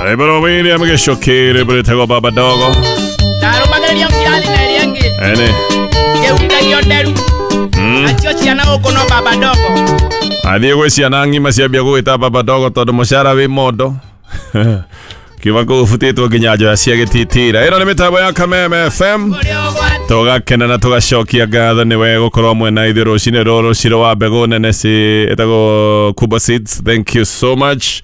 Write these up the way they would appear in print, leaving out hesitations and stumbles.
Rwĩmbo William Gĩcũkĩ, rwĩmbo rwĩtagwo Baba Dogo. Ndarũmagĩrĩrio kĩrathi na ĩrĩa ĩngĩ Ene. ngĩhutagia nderu nacio ciana gũkũ no Baba Dogo. Athiĩ gwĩ ciana ng'ima ciambia gũgĩta Baba Dogo tondũ mũcara wĩ mondo. Kiuma kũu ũbutĩtwo nginya njoya cia gĩtitira. Ĩno nĩ mĩtambo ya Kameme FM. Ũrĩa ũgwati Tũgakena na tũgacokia ngatho nĩ we gũkorwo mwena ithuĩ rũcinĩ rũrũ rũcirũ wa mbegũ nene ci ĩtagwo Kuba Seeds. Thank you so much.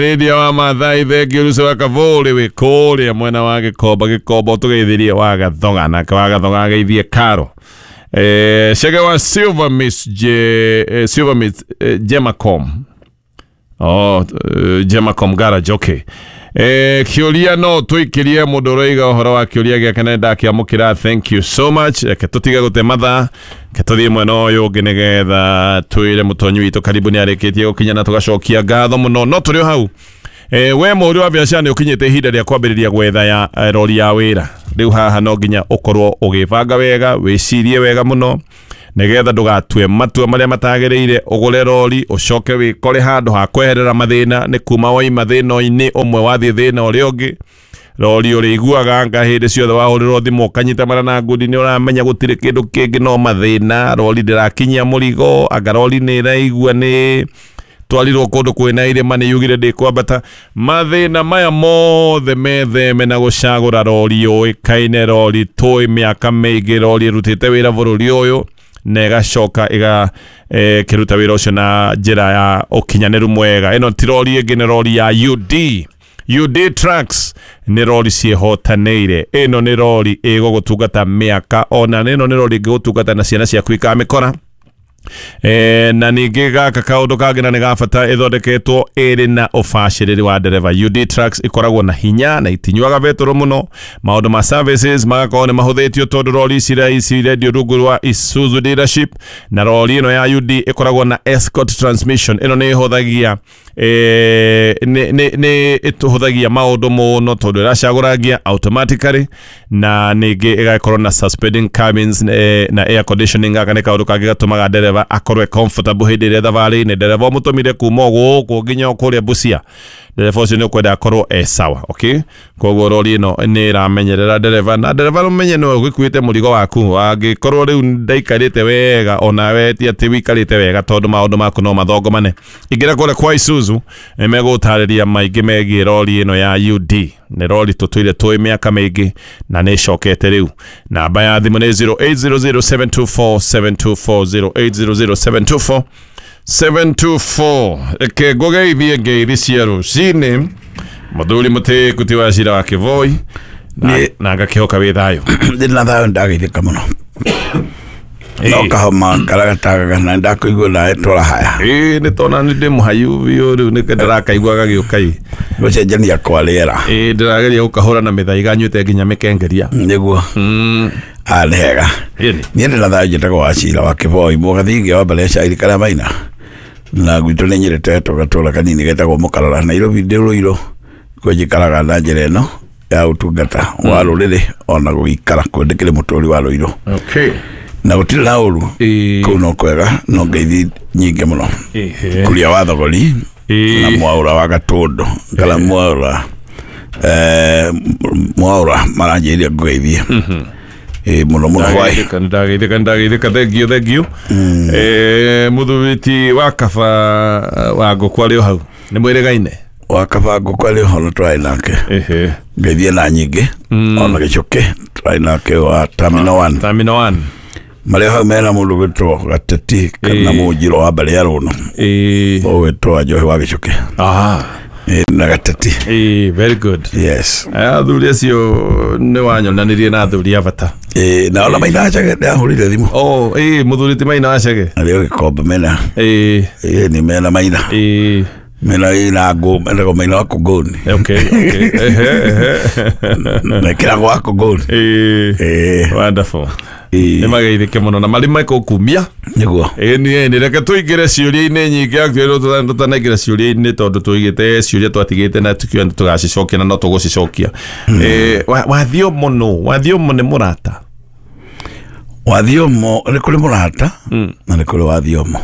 Radio wa Mathai, thengiũ Ruco wa Kavũrĩ wĩ kũrĩa mwena wa Gĩkomba. Gĩkomba ũtũgeithirie wa Gathoga, nake wa Gathoga ageithie Karo. Chege wa Silver Miss J, Silver Miss Gemacom. Oh, Gemacom Garage, okay. Kĩũria no tũikĩrie mũndũ ũroiga ũhoro wa kĩũria gĩake na ndakĩamũkĩra. Thank you so much. Reke tũtige gũte mathaa, reke tũthiĩ mwena ũyũ ũngĩ nĩgetha twĩre mũtonyi witũ karibu nĩ arĩkĩtie gũkinya na tũgacokia ngatho mũno. No tũrĩ o hau, we mũhũri wa biacara nĩ ũkinyĩte ihinda rĩa kwambĩrĩria gwetha ya rori ya wĩra. Rĩu haha no nginya ũkorwo ũgĩbanga wega, wĩcirie wega mũno nĩgetha ndũgatue matua marĩa matagĩrĩire, ũgũre rori ũcoke wĩkore handũ ha kweherera mathĩna nĩ kuma waima thĩna-inĩ ũmwe wathiĩ thĩna ũrĩa ũngĩ. Rori ũrĩiguaga anga hĩndĩ ciothe wahũrĩrwo thimũ ũkanyita mara na ngundi nĩ ũramenya gũtirĩ kĩndũ kĩngĩ no mathĩna. Rori ndĩrakinyia mũrigo, anga rori nĩ ĩraigua nĩ twarirwo kũndũ kwĩna irĩma nĩ yugire ndĩkwambata. Mathĩna maya mothe metheme na gũcagũra rori yũĩkaine, rori tũĩ mĩaka mĩingĩ, rori ĩrutĩte wĩra bũrũri ũyũ na ĩgacoka ĩga kĩruta wĩra ũcio na njĩra ya ũkinyanĩru mwega. Ĩno ti rori ĩngĩ, nĩ rori ya UD. UD Trucks nĩ rori ciĩhotanĩire. Ĩno nĩ rori ĩgũgũtungata mĩaka ona, ĩno nĩ rori ĩngĩgũtungata na ciana ciaku ikamĩkora. Na ningĩ gaka kaũndũ kangĩ na nĩ ga bata, ĩthondeketwo ĩrĩ na ũbacĩrĩri wa ndereba. UD Trucks ĩkoragwo na hinya na itinyuaga betũrũ mũno. Maũndũ ma services magakorwo nĩ mahũthĩtio tondũ rori ici ici irendio rungu rwa Isuzu dealership, na rori ĩno ya UD ĩkoragwo na Escort transmission. Ĩno nĩ ĩhũthagia nĩ ĩtũhũthagia maũndũ mũno tondũ ĩracagũrangia automatically, na ningĩ ĩgakorwo na suspending cabins na air conditioning. Gaka nĩ kaũndũ kangĩ gatũmaga ndereba akorwo e comfortable hĩndĩ ĩrĩa thabarĩ-inĩ. Ndereba ũmũtũmire kuma gũkũ nginya kũrĩa Busia, ndereba ũcio nĩ ũkwenda akorwo e sawa, okay? Koguo rori ĩno nĩ ĩramenyerera ndereba, na ndereba ũmenye nĩwe ũgĩkuĩte mũrigo waku. Angĩkorwo rĩu ndaikarĩte wega, onawe ti atĩ wĩikarĩte wega tondũ maũndũ maku no mathongomane. Ingĩra kũrĩa kwa Isuzu nĩ megũtarĩria maingĩ megiĩ rori ĩno ya UD. Nĩ rori tũtũire tũĩ mĩaka mĩingĩ na nĩ ĩcokete rĩu. Namba ya thimũ nĩ 0800724724, 0800 724 724. Reke ngũgeithie ngeithi cia rũcinĩ mũthuri mũtĩku ti wa cira wa Kĩvoi na ngakĩhoka wĩ thayũ. Ndĩ na thayũ, ndageithĩka mũno no kahoma karĩa gatagaga na ndakũigua nawe twara haya. Ĩĩ, nĩ tona nĩ ndĩ mũhayu biũ rĩu nĩ ndĩrakaigua gagĩũka ĩ. Gũcenjania kwa rĩera. Ĩĩ, ndĩrageria gũkahũra na mĩthaiga nyuĩte nginya mĩkengeria. Nĩguo nĩ hega. Ĩni. Niĩ ndĩ na thayũ, njĩtagwo Wacira wa Kĩboi mũgathingi wa mbere cairi karĩa maina na gwitũ nĩ nyĩrĩte tũgatũra kanini getagwo Mũkarara Nairobi ndĩ Rũirũ kwĩ njikaraga na njĩra ĩno ya ũtungata wa rũrĩrĩ ona gũgĩikara kwĩ ndĩkĩrĩ mũtũri wa Rũirũ. Okay. Na gũtirĩ na ũru. Ĩĩ. Kũu no kwega no ngeithi nyingĩ mũno. Ĩhĩ. Kuria wa Thogori Ĩĩ. na Mwaũra wa Gatũndũ kana Mwaũra Mwaũra maranjĩrire ngũgeithie. Ĩĩ, mũno mũno hwaĩ. Ndageithĩka, ndageithĩka, ndageithĩka, thank you, thank you. Mũthuri ti wa kaba wa ngũkũ arĩ o hau nĩ mwĩrĩgaine. Wa kaba ngũkũ arĩ ũhoro twarĩ nake. Ĩhĩ. Ngeithie na nyingĩ ona Gĩcũkĩ twarĩ nake wa Terminal 1. Terminal 1. Marĩa hau mena mũndũ gwĩtwo Gateti kana Ĩĩ. Mũnjiro wa mbere ya Rũno. Ĩĩ. Ũgwĩtwo wa Njohi wa Gĩcũkĩ. Ah. Ĩĩ, na Gateti. Ĩĩ, very good. Yes. Aya athuri acio nĩ wanyonanirie na athuri a bata. Ĩĩ, na ona Maina Wacege ndahũrire thimũ. Oh, ĩĩ, mũthuri ti Maina Wacege. Arĩ o Gĩkombe mena. Ĩĩ. Ĩĩ, nĩ mena Maina. Ĩĩ. Mena ĩna ngũ menagwo Maina wa Kũngũni. Okay. Ehe, ehe. Mekĩragwo wa Kũngũni. Ĩĩ. Ĩĩ. Wonderful. Ĩĩ. Nĩ mageithĩke mũno na marĩ mekũkumia. Nĩguo. Ĩni ĩni, reke tũingĩre ciũria-inĩ nyingĩ. Actually tũtanaingĩra ciũria-inĩ tondũ tũigĩte ciũria twatigĩte na tukiuga nĩ tũgacicokia na no tũgũcicokia. Wathiomo nũ? Wathiomo nĩ mũrata? Wathiomo nĩ kũrĩ mũrata na nĩ kũrĩ wathiomo.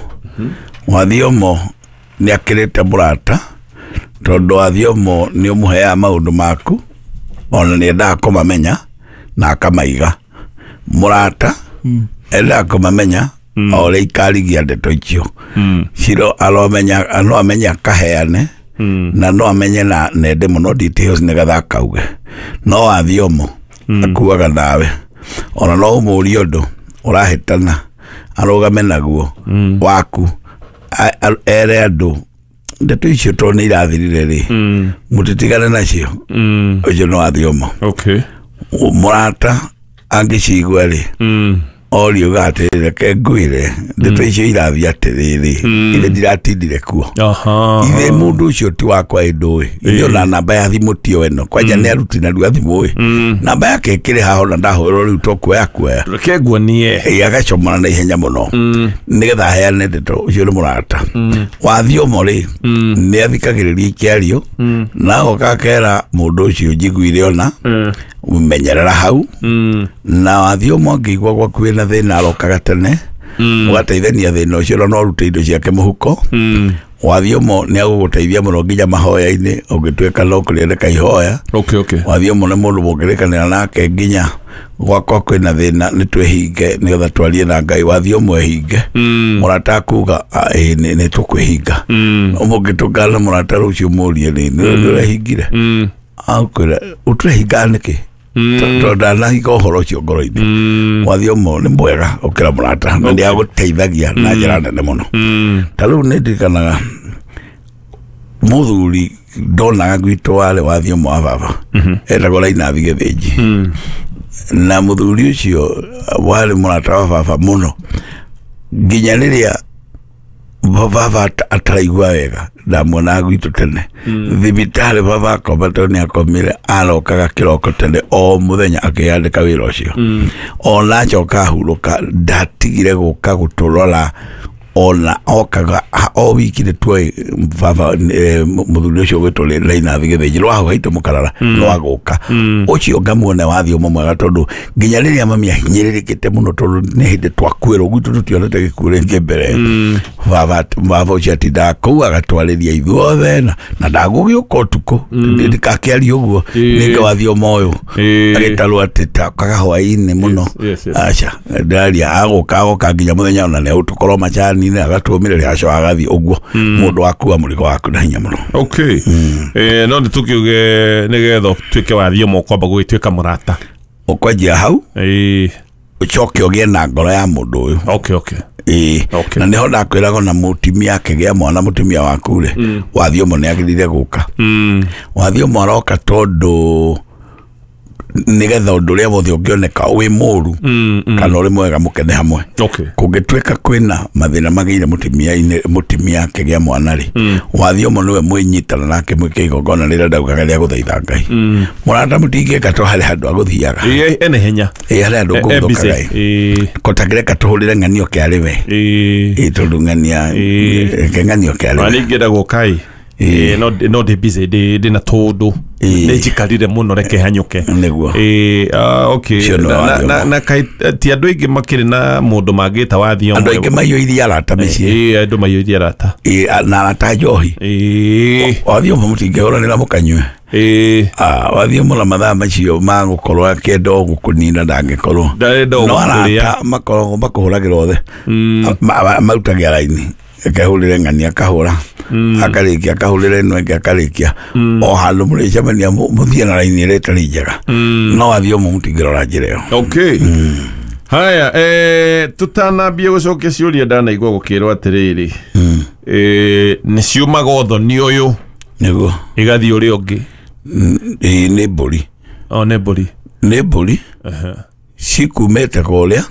Wathiomo nĩ akĩrĩte mũrata Tondũ wathiomo nĩ ũmũheaga maũndũ maku ona nĩ endaga kũmamenya na akamaiga. Mũrata endaga kũmamenya o ũrĩa ikarigia ndeto icio. Ciro aromenya no amenye akaheane na no amenye na nende mũno details nĩgetha akauge. No wathiomo akuaga nawe ona no ũmũrie ũndũ ũrahĩtana arũgame naguo waku ere andũ ndeto icio tondũ nĩ irathirire rĩ mũtitigane nacio. Ũcio nĩ wathiomo. Okay. Mũrata angĩcigua rĩ oriuga atĩrĩ reke ngwĩre ndeto icio irathiĩ atĩrĩrĩ ithe ndiratindire kuo. Ithe mũndũ ũcio ti wakwa ĩndũĩ ithe ona namba ya thimũ tio ĩno kwanja nĩ aruti narua thimũ ĩ namba yake ĩkĩrĩ haha ona ndahũrwo rĩu to kuoya kuoya Reke nguonie. Ĩ, agacomora na ihenya mũno nĩgetha aheane ndeto ũcio nĩ mũrata. Wathiomo rĩ nĩ athikagĩrĩria ikĩario na agoka akera mũndũ ũcio njiguire ona menyerera hau. Na wathiomo angĩigua gwaku wĩna thĩna arokaga tene ũgateithania thĩna ũcio na no ũrute indo ciake mũhuko. Wathiomo nĩ agũgũteithia mũno nginya mahoya-inĩ ũngĩtuĩka no kũrĩandĩka ihoya. Okay, okay. Wathiomo nĩ mũndũ mũngĩrĩkanĩra nake nginya gwakwa kwĩna thĩna nĩ twĩhinge nĩgetha twarie na Ngai. Wathiomo ehinge mũrata akuga ĩĩ nĩ tũkwĩhinga. Mũngĩtũngana na mũrata rũciũ mũrie rĩ nĩ ũrehingire akwĩra ũtũrehinga nĩkĩ tondũ ndanahinga ũhoro ũcio ngoro-inĩ. Wathiomo nĩ mwega gũkĩra mũrata na nĩ agũteithagia na njĩra nene mũno. Ta rĩu nĩ ndirikanaga mũthuri ndonaga gwitũ warĩ wathiomo wa baba etagwo Rainathi Gĩthĩnji. Na mũthuri ũcio warĩ mũrata wa baba mũno nginya rĩrĩa baba ataraigua wega ndamuonaga gwitũ tene thibitarĩ baba akoma tondũ nĩ akomire arokaga kĩroko tene o mũthenya akĩandĩka wĩra ũcio. Ona acoka ahurũka ndatigire gũka gũtũrora ona okaga o wiki nĩ tuoĩ baba mũthuri ũcio ũgwĩtwo Rainathi Gĩthĩnji rwa hau haitũ mũkarara no agũka ũcio ngamuona wathiomo mwega tondũ nginya rĩrĩa mami ahinyĩrĩrĩkĩte mũno tondũ nĩ hĩndĩ twakuĩrwo gwitũ tũtionete gĩkuũ rĩngĩ mbere. Baba ũcio atindaga kũu agatwarĩria ithuothe na ndagũgĩũka ũtukũ ndikakĩaria ũguo nĩngĩ wathiomo ũyũ agĩtarwo atĩ takaga hwaĩ-inĩ mũno. Aca ndaria agũka agoka nginya mũthenya ona nĩ ũtũkorwo macani agatũmĩrĩria aco agathiĩ ũguo mũndũ akua mũrigo waku na hinya mũno. Okay. No nĩ tũkiuge nĩgetha ũtuĩke wathiomo ũkwamba gũgĩtuĩka mũrata ũkwanjia hau ũcoke ũgĩe na ngoro ya mũndũ ũyũ. Okay, okay. Okay. Na nĩho ndakwĩraga ona mũtumia akĩgĩa mwana mũtumia waku rĩ wathiomo nĩ agĩrĩire gũka. Wathiomo aroka tondũ nĩgetha ũndũ ũrĩa wothe ũngĩoneka wĩ mũru kana ũrĩ mwega mũkene hamwe. Okay. Kũngĩtuĩka kwĩna mathĩna magĩire mũtumia akĩgĩa mwana rĩ wathiomo nĩwe mwĩnyitana nake mwĩke igongona rĩrĩa ndaugaga rĩa gũthaitha Ngai. Mũrata mũtingĩka to harĩ handũ agũthiaga Ene hinya ĩ harĩ handũ ngũgũthũkaga ĩ kotangĩreka tũhũrĩre ng'anio kĩarĩ we ĩ tondũ ng'ania reke ng'anio kĩarĩ we. Ningĩenda gũka ĩ no ndĩ busy ndĩ na tũndũ nĩ njikarire mũno reke hanyũke nĩguo. Okay. Na ti andũ aingĩ makĩrĩ na mũndũ mangĩta wathiomo. Andũ aingĩ maiyũirie arata mĩciĩ. Andũ maiyũirie arata na arata njohi. Wathiomo mũtingĩhũranĩra mũkanyue. Wathiomo na mathaa macio magũkorwo akĩenda o gũkũnina ndangĩkorwo no arata makoragwo makũhũragĩra othe marutagia raini akahũrĩre ng'ania akahũra akarĩkia akahũrĩre ĩno ĩngĩ akarĩkia o handũ mũrĩcemania mũthiĩ na raini ĩrĩa ĩtarĩ njega no wathiomo mũtingĩrora njĩra ĩyo. Okay. Haya, tũtanambie gũcokia ciũria ndanaigua gũkĩrwo atĩrĩrĩ nĩ ciumaga ũthoni ũyũ nĩguo igathiĩ ũrĩa ũngĩ. Nĩ mbũri. Nĩ mbũri. Nĩ mbũri cikumĩte kũrĩa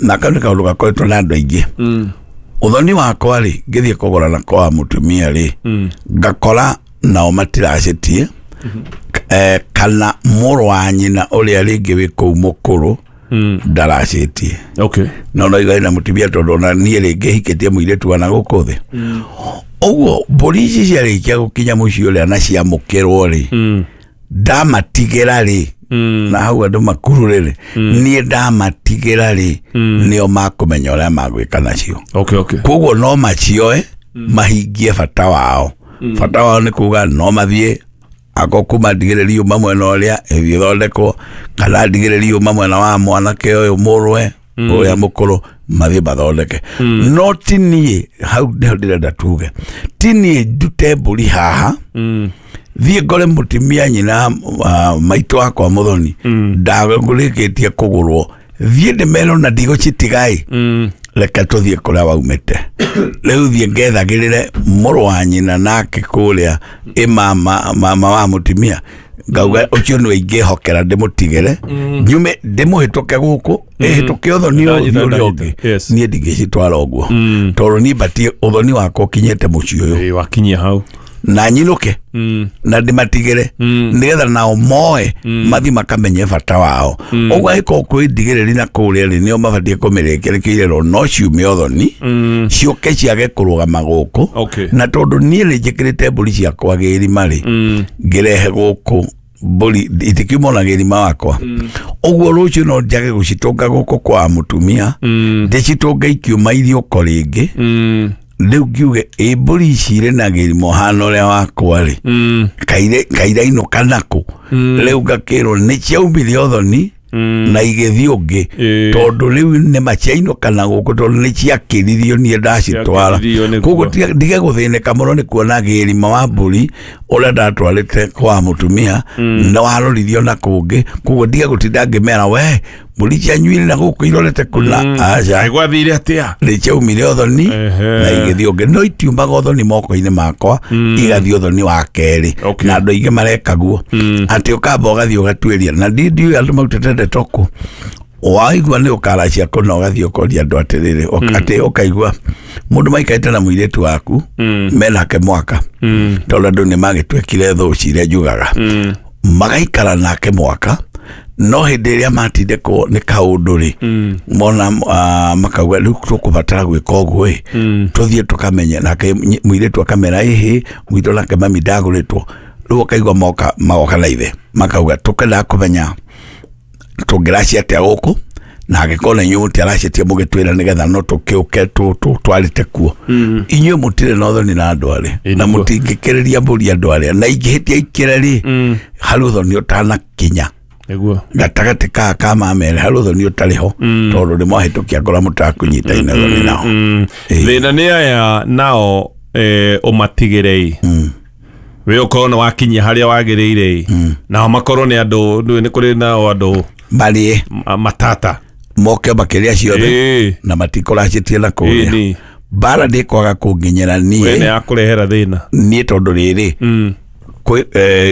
na kau nĩ kaũndũ gakoretwo na andũ aingĩ. Ũthoni wakwa rĩ ngĩthiĩ kũgũra na kwa mũtumia rĩ ngakora nao matiracĩtie kana mũrũ wa nyina ũrĩa rĩngĩ wĩ kũu mũkũrũ ndaracĩtie. Okay. No no igai na mũtumia tondũ ona niĩ rĩngĩ hikĩtie mũirĩtu wa na gũkũ thĩ. Ũguo mbũri ici ciarĩkia gũkinya mũciĩ ũrĩa na ciamũkĩrwo rĩ ndamatigĩra rĩ na hau andũ makurure rĩ niĩ ndamatigĩra rĩ nĩo makũmenya ũrĩa magwĩka nacio. Okay, okay. Koguo no macioe mahingie bata wao. Bata wao nĩ kuga no mathiĩ ako kuma ndigĩrĩrio mamwe na ũrĩa ĩgĩthondekwo kana ndigĩrĩrio mamwe na wa mwanake ũyũ mũrwe ũrĩa mũkũrũ mathiĩ mathondeke. No ti niĩ hau nĩho ndĩrenda tuge, ti niĩ ndute mbũri haha thiĩ ngore mũtumia nyina maitũ wakwa mũthoni ndagũrĩkĩtie kũgũrwo, thiĩ ndĩmerwo na ndigũcitigai, reke tũthiĩ kũrĩa waumĩte. Rĩu thiĩ ngethagĩrĩre mũrũ wa nyina nake kũrĩa ĩ mama wa mũtumia, ngauga ũcio nĩwe ingĩhokera ndĩmũtigĩre nyume ndĩmũhĩtũke gũkũ ĩhĩtũke ũthoni ũyũ ũrĩa ũngĩ. Niĩ ndingĩcitwara ũguo tondũ niĩ batiĩ ũthoni wakwa ũkinyĩte mũciĩ ũyũ wakinyia hau na nyinũke na ndĩmatigĩre nĩgetha nao moe mathiĩ makamenye bata wao. Ũguo angĩkorwo kwĩ ndigĩrĩri na kũrĩa rĩ, nĩo mabatiĩ kũmĩrĩkia nĩkĩo no ciume ũthoni ciũke ciage kũrũgama gũkũ. Na tondũ niĩ nĩ njĩkĩrĩte mbũri ciakwa gĩrima rĩ, ngĩrehe gũkũ mbũri itikiuma ona gĩrima wakwa, ũguo rũciũ no njage gũcitũnga gũkũ kwa mũtumia, ndĩcitũnge ikiuma iriũko rĩngĩ. Rĩu ngiuge ĩ mbũri ici irĩ na gĩrima ũhana ũrĩa wakwa rĩ, kairainũka nakũ? Rĩu ngakĩrwo nĩ ciaumire ũthoni na igĩthiĩ ũngĩ, tondũ rĩu nĩma ciainũka na gũkũ tondũ nĩ ciakĩririo niĩ ndacitwara. Koguo ndige gũthĩnĩka mũno nĩ kuona gĩrima wa mbũri ũrĩa ndatwarĩte kwa mũtumia na waroririo na kũngĩ. Koguo ndige gũtinda ngĩmera we mbũri cianyu irĩ na gũkũ irorete kũna, aca gwathire atĩa, nĩ ciaumire ũthoni na igĩthiĩ ũngĩ. No itiumaga ũthoni moko-inĩ makwa, igathiĩ ũthoni wa kerĩ. Na andũ aingĩ marekaguo atĩ ũkamba ũgathiĩ ũgatuĩria, na ndiũĩ andũ marutĩte ndeto kũ. Waigua nĩ ũkaracia kũna ũgathiĩ ũkoria andũ atĩrĩrĩ, atĩ ũkaigua mũndũ maikarĩte na mũirĩtu waku menake mwaka, tondũ andũ nĩ magĩtuĩkire thũ ciria njugaga, magaikara nake mwaka, no hĩndĩ ĩrĩa matindĩkwo nĩ kaũndũ rĩ, mona makauga rĩu tũkũbatara gwĩka ũguo ĩ, tũthiĩ tũkamenye. Nake mũirĩtu akamera ĩhĩ, mũirĩtu nake mami ndagũrĩtwo. Rĩu ũkaigua magoka na ithe makauga tũkendaga kũmenya tũngĩracia atĩa gũkũ, na angĩkorwo na inyuĩ mũtiaracetie mũgĩtwĩra nĩgetha no tũkĩũke twarĩte kuo. Inyuĩ mũtirĩ na ũthoni na andũ arĩa, na mũtingĩkĩrĩria mbũri andũ arĩa, na ingĩhĩtia ikĩre rĩ, harĩ ũthoni ũtanakinya gatagatĩ ka mamere, harĩ ũthoni ũtarĩ ho, tondũ nĩ mwahĩtũkia ngora mũtakũnyitaine ũthoni nao. Thĩna nĩ aya nao ũmatigĩre wĩ ũkorwo nĩ wakinyia harĩa wagĩrĩire, nao makorwo nĩ andũ, nĩ kũrĩ nao andũ marĩe matata moke makĩrĩa ciothe na matikũracĩtie na kũrĩa. Mbara ndĩkwaga kũnginyĩra niĩ nĩ yakũrehera thĩna niĩ, tondũ rĩrĩ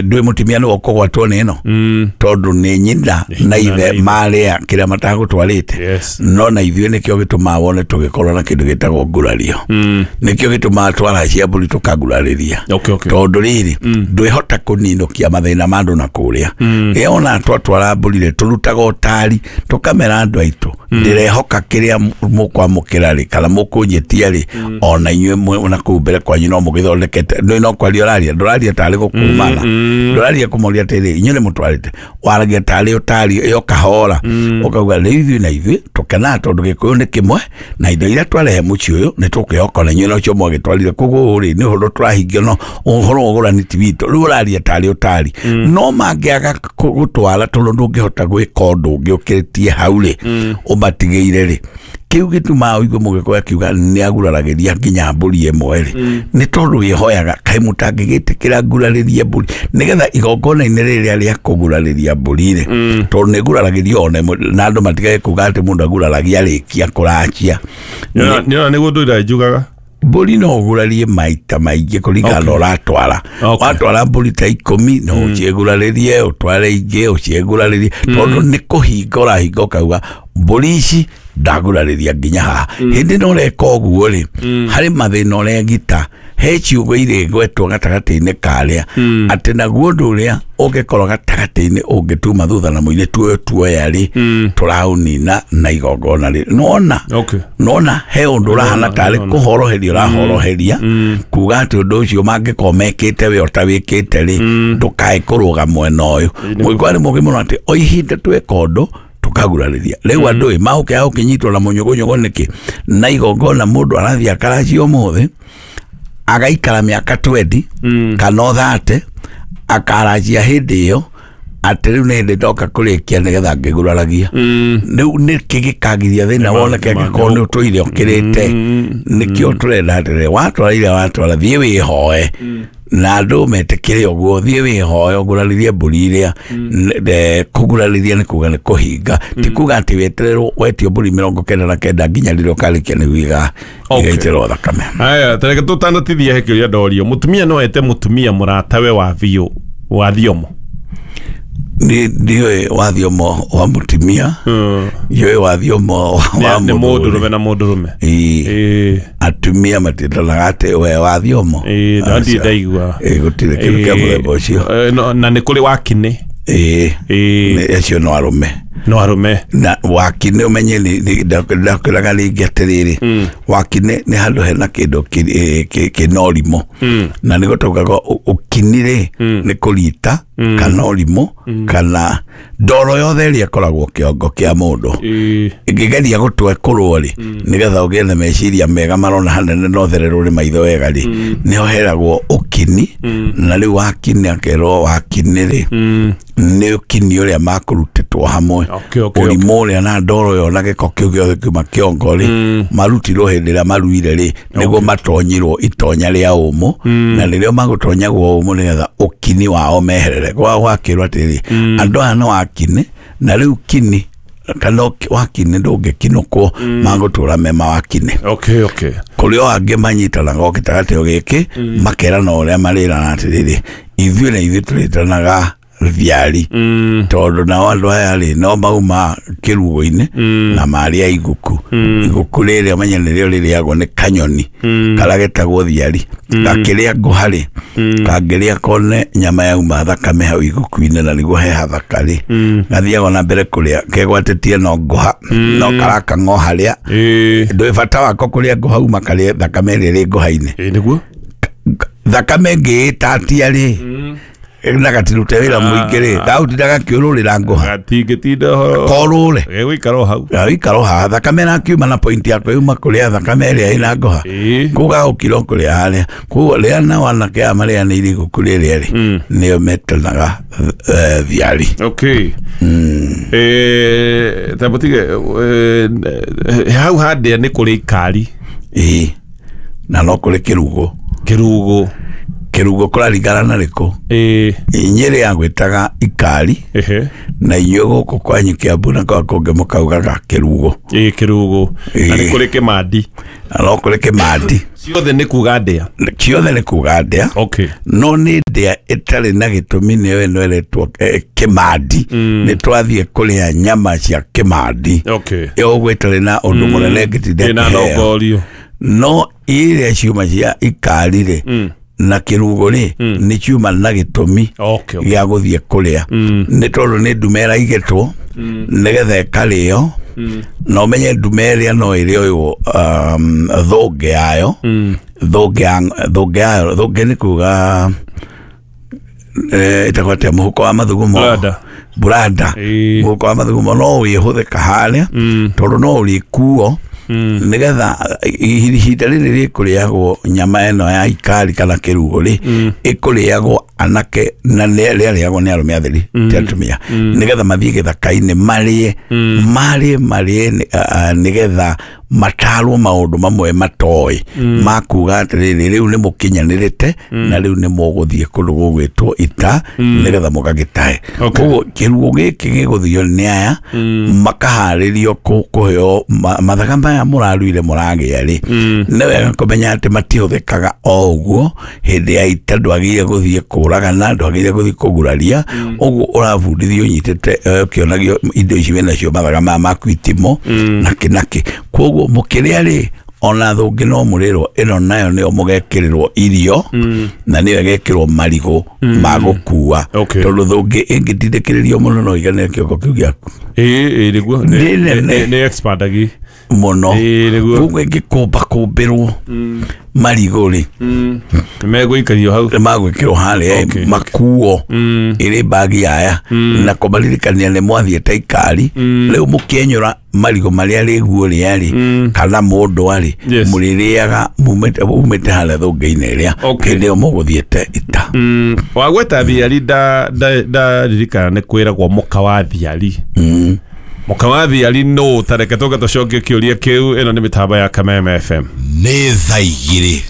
ndwĩ mũtumia nĩwe ũkũgwatwo nĩ ĩno, tondũ nĩ nyina na ithe marĩa kĩrĩa matagũtwarĩte. No na ithuĩ nĩkĩo gĩtũmaga wone tũgĩkorwo na kĩndũ gĩtagwo ngurario, nĩkĩo gĩtũmaga twaracia mbũri tũkangurarĩria, tondũ rĩrĩ ndwĩhota kũninũkia mathĩna ma andũ na kũrĩa. Rĩrĩa ona twatwara mbũri rĩ, tũrutaga ũtari tũkamera andũ aitũ ndĩrehoka kĩrĩa mũkwamũkĩra rĩ kana mũkũnjĩtia rĩ, ona inyuĩ na kũu mbere kwanyu no mũgĩthondekete. Ndũĩ no kwaria ũraria, ndũraria tarĩ gũkũmana, ndũraria kũmoria atĩrĩ inyuĩ nĩ mũtwarĩte, waragia tarĩ ũtari ĩyo kahora, ũkauga rĩu ithuĩ na ithuĩ tũkenaga tondũ gĩkũyũ nĩ kĩmwe, na indo iria twarehe mũciĩ ũyũ nĩ tũkwĩhoka na inyuĩ nocio mwagĩtwarire. Koguo rĩ nĩ ũhoro tũrahingia, no ũhoro wa ũgũrani ti witũ. Rĩu ũraria tarĩ ũtari, no mangĩaga gũtwara tondũ ndũngĩhota gwĩka ũndũ ũngĩ ũkĩrĩtie hau rĩ, ũmatigĩire rĩ, kĩu gĩtũmaga ũigue mũgĩkũyũ akiuga nĩ aguraragĩria nginya mbũri ĩmwe rĩ, nĩ tondũ wĩhoyaga kaĩ mũtangĩgĩtĩkĩra ngurarĩrie mbũri nĩgetha igongona-inĩ rĩrĩa rĩa kũgurarĩria mbũri rĩ, tondũ nĩ nguraragĩrio ona ĩmwe, na andũ matigage kuga atĩ mũndũ aguraragia arĩkia kũracia. Nĩona nĩguo ndũira njugaga mbũri no ũgurarie maita maingĩ kũringana na ũratwara. Watwara mbũri ta 10 no ũciĩgurarĩrie, ũtware ingĩ ũciĩgurarĩrie, tondũ nĩ kũhinga ũrahinga ũkauga mbũri ici ndagurarĩria nginya haha. Hĩndĩ no ũreka ũguo rĩ, harĩ mathĩna ũregita, he ciugo irĩgwetwo gatagatĩ-inĩ karĩa, atĩ naguo ũndũ ũrĩa ũngĩkorwo gatagatĩ-inĩ ũngĩtuma thutha na mũirĩtu ũyũ tuoya rĩ, tũraũnina na igongona rĩ. Nona nona he ũndũ ũrahana tarĩ kũhoroheria ũrahoroheria, kuga atĩ ũndũ ũcio mangĩkorwo mekĩte we ũtawĩkĩte rĩ, ndũkae kũrũga mwena ũyũ. Mũgĩkũyũ nĩ mũũgĩ mũno atĩ o ihinda tweka ũndũ tũkagurarĩria. Rĩu andũ ĩ maũke gũkĩnyitwo na mũnyũgũnyũgũ nĩkĩ, na igongona mũndũ arathiĩ akaracia ũmũthĩ Agaikara mĩaka 20 kana 30 akaranjia hĩndĩ ĩyo atĩ rĩu nĩ hĩndĩ ndoka kũrĩkia nĩgetha ngĩguraragia. Rĩu nĩkĩ gĩkagiria thĩna woneke angĩkorwo nĩ ũtũire ũkĩrĩte? Nĩkĩo tũrenda atĩrĩrĩ, watwara iria watwara, thiĩ wĩhoe na andũ metĩkĩre ũguo, thiĩ wĩhoe ũgurarĩrie mbũri iria. Kũgurarĩria nĩ kuga nĩ kũhinga, ti kuga atĩ wetererwo wetio mbũri 99 nginya rĩrĩa ũkarĩkia nĩguo igaitĩrwo thakame. Aya, tareke tũtanatithia he kĩũria ndorio. Mũtumia no ete mũtumia mũratawe wa biũ wa thiomo? Ndiũĩ wa thiomo wa mũtumia, ndiũĩ wa thiomo wa Nĩ mũndũrũme na mũndũrũme. Ĩĩ. Atumia matiendanaga atĩ we wa thiomo. Ĩĩ, ndirĩ ndaigua. Gũtirĩ kĩndũ kĩa mũthemba ũcio. Na nĩ kũrĩ wakinĩ. Ĩĩ, acio no arũme. No arũme. Na wakinĩ ũmenye ndakwĩraga rĩngĩ atĩrĩrĩ, wakinĩ nĩ handũ hena kĩndũ kĩna ũrimũ, na nĩguo taugaga ũkini rĩ nĩ kũrita kana ũrimũ kana ndoro yothe ĩrĩa ĩkoragwo kĩongo kĩa mũndũ. Ĩngĩgeria gũtwa ĩkũrwo rĩ, nĩgetha ũgĩe na meciria mega marona hanene na ũthererwo nĩ maitho wega rĩ, nĩho heragwo ũkini. Na rĩu wakini akerwo wakini rĩ nĩ ũkini ũrĩa makũrutĩtwo hamwe, ũrimũ ũrĩa na ndoro ĩyo na gĩko kĩu gĩothe kiuma kĩongo rĩ, marutirwo hĩndĩ ĩrĩa maruire rĩ, nĩguo matonyirwo itonya rĩa ũmũ, na rĩrĩa magũtonyagwo ũmũ nĩgetha ũkini wao meherere. Gwakĩrwo atĩrĩrĩ, andũ aya no wakini, na rĩu kini kana wakini ndũngĩkinũkwo, magũtũra me mawakini. Kũrĩ o angĩ manyitanaga o gĩtagatĩ gĩkĩ makerana ũrĩa marĩrana atĩrĩrĩ, ithuĩ na ithuĩ tũrĩtanaga thiari, tondũ nao andũ aya rĩ no mauma kĩrugo-inĩ na marĩa iguku. Iguku rĩrĩa ũmenye nĩrĩo rĩrĩagwo nĩ kanyoni karĩa getagwo thiari, gakĩrĩa ngũha rĩ, kangĩrĩa kone nyama yauma thakame hau iguku-inĩ na nĩguo he hathaka rĩ, gathiaga na mbere kũrĩa kegwatĩtie no ngũha, no karakang'o harĩa ndũĩ bata wako kũrĩa ngũha uma karĩe thakame ĩrĩa ĩrĩ ngũha-inĩ. Nĩguo thakame ĩngĩĩtatia rĩ na gatirute wĩra mũingĩ rĩ, gaũtinda gakĩũrũrĩra ngũha, gatingĩtinda korũre gegũikara o hau, gaikara o haha, thakame ĩrakiuma na point yako yuma kũrĩa thakame ĩrĩa ĩna ngũha, kũu gagũkira o kũrĩa harĩa. Koguo rĩa nao anake aya marĩanĩire iguku rĩrĩa rĩ, nĩo metanaga thiari. Tamũtige hau handĩa nĩ kũrĩ ikari. Ĩĩ, na no kũrĩ kĩrugo. Kĩrugo Kĩrugo kũraringana na rĩkũ. Nyĩrĩ yagwĩtaga ikari, na inyuĩ gũkũ kwanyu Kĩambu na kwa kũngĩ mũkaugaga kĩrugo. Kĩrugo. Na nĩ kũrĩ kĩmandi. Na no kũrĩ kĩmandi. Ciothe nĩ kuga ndĩa. Ciothe nĩ kuga ndĩa. No nĩ ndĩa ĩtarĩ na gĩtũmi, nĩyo ĩno ĩretwo kĩmandi. Nĩ twathiĩ kũrĩa nyama cia kĩmandi. Ĩyo ũguo ĩtarĩ na ũndũ mũnene ĩngĩtinda ĩna ĩkĩheo. nongorio. No iria ciuma cia ikari rĩ na kĩrugo rĩ nĩ ciuma na gĩtũmi gĩa gũthiĩ kũrĩa, nĩ tondũ nĩ ndume ĩraigĩtwo nĩgetha ĩkarĩo, na ũmenye ndume ĩrĩa no ĩrĩoywo thũngĩ yayo, thũngĩ yayo, thũngĩ nĩ kuga ĩtagwo atĩa, mũhuko wa mathugumo, buranda, mũhuko wa mathugumo no wĩhũthĩka harĩa, tondũ no ũrĩkuo nĩgetha ihinda rĩrĩ rĩkũrĩagwo nyama ĩno ya ikari kana kĩrugo rĩ, ĩkũrĩagwo anake na rĩarĩagwo nĩ arũme atheri ti atumia, nĩgetha mathiĩ gĩthaka-inĩ marĩe marĩe marĩe nĩgetha matarwo maũndũ mamwe matoĩ makuga atĩrĩrĩ, rĩu nĩ mũkinyanĩrĩte na rĩu nĩ mũgũthiĩ kũndũ gũgwĩtwo ita nĩgetha mũgagĩtahe. Koguo kĩrugo gĩkĩ gĩgũthio nĩ aya makaharĩrio kũheo mathaga maya mũraruire mũragĩa rĩ, nĩ wega kũmenya atĩ matihũthĩkaga o ũguo hĩndĩ ya ita. Ndwagĩrĩire gũthiĩ kũragana, ndwagĩrĩire gũthiĩ kũguraria, ũguo ũrabundithio ũnyitĩte ũkĩonagio indo ici wĩnacio mathaga maya maku itimo nakĩ nakĩ. Koguo mũkĩrĩa rĩ, ona thũngĩ no mũrĩrwo ĩno nayo nĩyo mũgekĩrĩrwo irio, na nĩyo ĩgekĩrwo marigũ ma gũkua, tondũ thũngĩ ĩngĩtindĩkĩrĩrio mũno no ĩiganĩre kĩongo kĩu gĩaku. Nĩguo Nĩ nene. nĩ expandagi mũno. Nĩguo. Koguo ĩngĩkũmba kũmbĩrwo Marigũ rĩ, Megũikario hau. Magwĩkĩrwo harĩa makuo ĩrĩ mbagi yaya na kũmaririkania nĩ mwathiĩte ikari rĩu mũkĩenyũra marigũ marĩa rĩguo rĩa rĩ kana mũndũ arĩ mũrĩrĩaga mumĩte harĩa thũngĩ-inĩ ĩrĩa hĩndĩ ĩyo mũgũthiĩte ita. Wagweta thiari, ndaririkana nĩ kwĩragwo mũka wa thiari, mũka wa thiari nũ? Tareke tũke tũcokie kĩũria kĩu. Ĩno nĩ mĩtambo ya Kameme FM. Nĩ thaa 2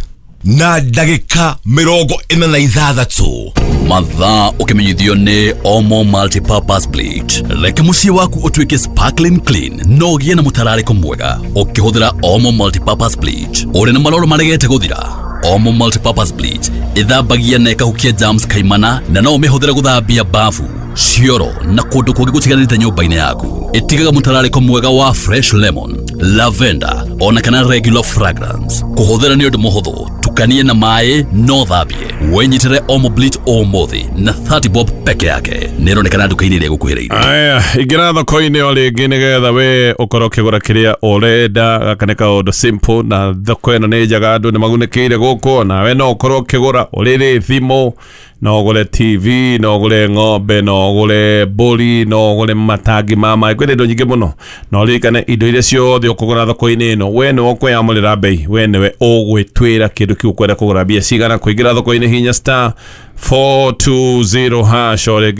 na ndagĩka 46. Mathaa ũkĩmenyithio nĩ Omo Multipurpose Bleach. Reke mũciĩ waku ũtuĩke sparkling clean na ũgĩe na mũtararĩko mwega ũkĩhũthĩra Omo Multipurpose Bleach. Ũrĩ na maroro maregete gũthira? Omo Multipurpose Bleach ĩthambagia na ĩkahukia germs kaimana, na no ũmĩhũthĩre gũthambia bafu, cioro na kũndũ kũngĩ gũtiganĩte nyũmba-inĩ yaku. Ĩtigaga mũtararĩko mwega wa fresh lemon, lavender ona kana regular fragrance. Kũhũthĩra nĩ ũndũ mũhũthũ, tukanie na maĩ no thambie. Wĩnyitĩre Omo Bleach ũmũthĩ na 30 bob peke yake. Nĩ ĩronekana nduka-inĩ ĩrĩa ĩgũkuhĩrĩirie. Aya, ingĩra thoko-inĩ o rĩngĩ nĩgetha we ũkorwo ũkĩgũra kĩrĩa ũrenda. Gaka nĩ kaũndũ simple, na thoko ĩno nĩ njega, andũ nĩ magunĩkĩire gũkũ. Nawe no ũkorwo ũkĩgũra ũrĩrĩ thimũ, no ũgũre TV, no ũgũre ng'ombe, no ũgũre mbũri, no ũgũre matangi ma maĩ. Kwĩna indo nyingĩ mũno, na ũririkane indo iria ciothe ũkũgũra thoko-inĩ ĩno, we nĩwe ũkwĩamũrĩra mbei, we nĩwe ũgwĩtuĩra kĩndũ kĩu ũkwenda kũgũra mbia cigana. Kũingĩra thoko-inĩ, hinya *420# o rĩngĩ.